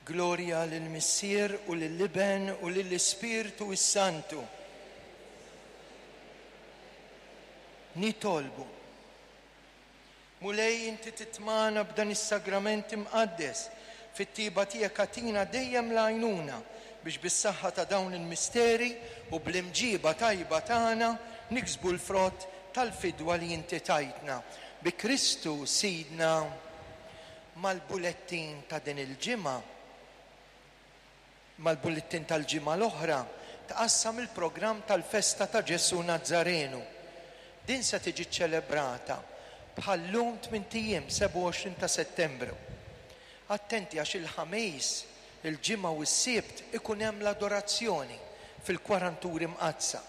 Glorja lill-Missier u lill-Iben u lill-Ispirtu s-Santu. Nitolbu. Mulej inti titmagħna b'dan is-sagrament imqaddes, fit-tjieba tiegħek agħtina dejjem l-għajnuna biex bis-saħħa ta' dawn il-misteri u bl-imġieba tajba tagħna niksbu l-frott tal-fidwa li inti tajtna. Bi Kristu Sidna. Mal-bulettin ta' din il-ġimgħa, Mal-bullettin tal-ġimgħa l-oħra tqassam il-programm tal-festa ta' Ġesù Nazzarenu. Din se tiġi ċċelebrata bħal-lum tmint ijiem, 27 ta' Settembru. Attenti għax il-Ħamis, il-Ġimgħa u s-Sibt ikun hemm l-adorazzjoni fil-Kwaranturi Mqaddsa.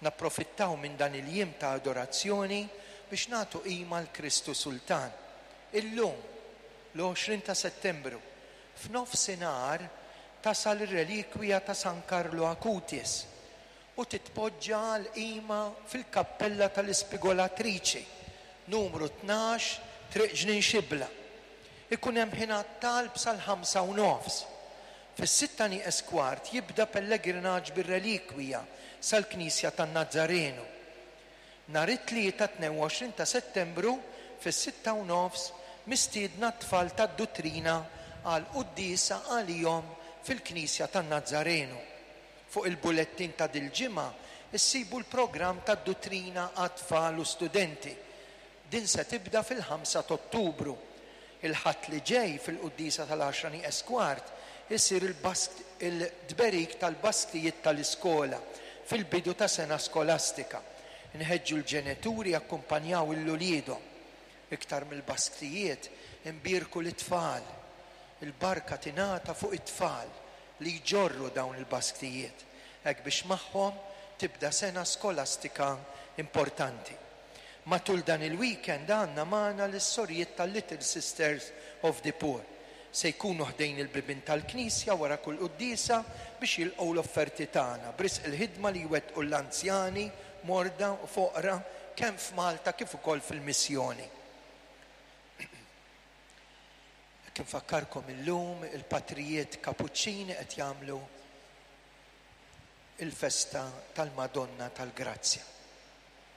Napprofittaw minn dan il-jiem ta' adorazzjoni biex nagħtu qima 'l Kristu Sultan. Illum, l-20 ta' Settembru, F'nofsinhar tasal ir-relikwija ta' San Carlo Acutis u titpoġġa għall-qima fil-Kappella tal-Ispigolatriċi, numru 12, Triq Ġnien Xibla. Ikun hemm ħin għat-talb sal-ħamsa u nofs. Fis-sitta nieqes kwart jibda pellegrinaġġ bir-relikwija sal-Knisja tan-Nazzarenu. Nhar it-Tlieta 22 ta' Settembru fis-sitta u nofs mistiedna t-tfal tad-Duttrina għal quddiesa għalihom fil-Knisja tan-Nazzarenu. Fuq il-bulettin ta' dil-ġimgħa issibu l-programm tad-Duttrina għat-tfal u studenti. Din se tibda fil-ħamsa t'Ottubru. Il-Ħadd li ġej fil-quddiesa tal-għaxra nieqes kwart isir il-tberik tal-basktijiet tal-iskola fil-bidu ta' sena skolastika. Inħeġġu l-ġenituri jakkumpanjaw 'l uliedhom. Iktar mill-basktijiet, inbierku lit-tfal. Il-barka tingħata fuq it-tfal li jġorru dawn il-basktijiet, hekk biex magħhom tibda sena skolastika importanti. Matul dan il-weekend għandna magħna lis-sorijiet tal-Little Sisters of the Poor. Se jkunu ħdejn il-bibien tal-knisja wara kull quddiesa biex jilqgħu l-offerti tagħna b'risq il-ħidma li jwettqu l-anzjani, morda u foqra kemm f'Malta kif ukoll fil-missjoni. Hekk infakkarkom illum il-patrijiet Kapuċċini qed jagħmlu il-festa tal-Madonna tal-Grazzja.